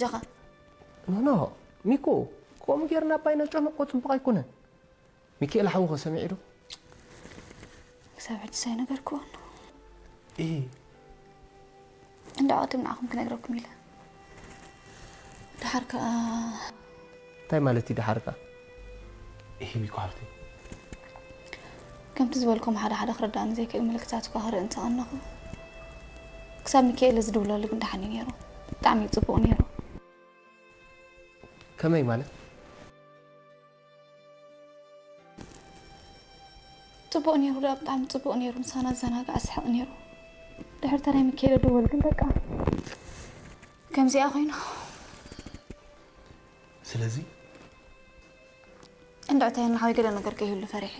ጃኻ ኖ ኖ፣ ሚኮ፣ ከምኡ ጌርና ኣባይ ነጨንቆ ጽቡቕ ኣይኮነን። ሚካኤል ሓውኸ ሰሚዑ ዶ? ክሳብ ሕጂ ሳይነገርክዎን። እሂ። እንዳ ቅድም ንዓኹም ክነግረኩም ኢለ። ደሓር ከኣ እንታይ ማለት እዩ ደሓር ከኣ? እሂ ሚኮ ሓፍተይ። ከምቲ ዝበልኩም ሓደ ሓደ ክርዳእኒ ዘይክእል ምልክታት እኳ ክርኢ እንተቐነኹ፣ ክሳብ ሚካኤል ዝድውለሉ ግን ደሓን እዩ ነይሩ። ብጣዕሚ እዩ ጽቡቕ ነይሩ። ከመይ ማለት? ጽቡቕ ነይሩ፣ ደኣ ብጣዕሚ ጽቡቕ ነይሩ። ምሳና ዘናግዕ ኣስሕቕ ነይሩ። ድሕሪ ተናይ ሚካኤል ድወል ግን በቃ ከምዚኣ ኮይኑ። ስለዚ እንድዕታየና ሓወይ ገለ ነገር ከይህሉ ፈሪሐ።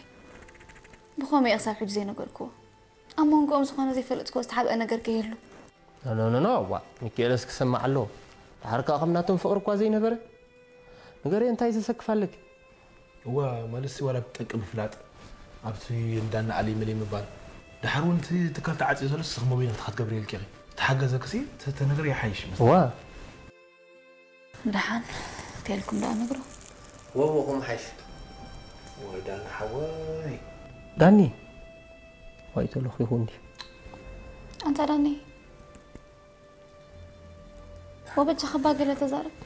ብኸመይ እየ ክሳብ ሕጂ ዘይነገርክዎ? ኣብ መንጎኦም ዝኾነ ዘይፈለጥክዎ ዝተሓብአ ነገር ከይህሉ። ኖ ኖ ኖ፣ ዋ ሚካኤልስ ክሰማዕ ኣለዎ። ደሓር ከኣ ከም ናቶም ፍቕሪ እኳ ዘይነበረ። ንገርየ እንታይ ዘሰክፍ ኣለኪ? እዋ ማለትሲ ዋላ ብጠቂ ምፍላጥ ኣብቲ እንዳና ኣሊ መሊ ምባል ደሓር እውን እቲ ትካል ተዓፅዮ ዘሎ ስኽ መቢና ክትገብር የልኪ ተሓገዘክሲ ተነገር ይሓይሽ ዋ ደሓን ተልኩም ደኣ ነግሮ። ወዎ ከምሓይሽ ወይ ዳና ሓወይ ዳኒ ዋይ ተለኺኹ እንዲ ኣንታ ዳኒ ወበጃ ከባ ገለ ተዛረብ።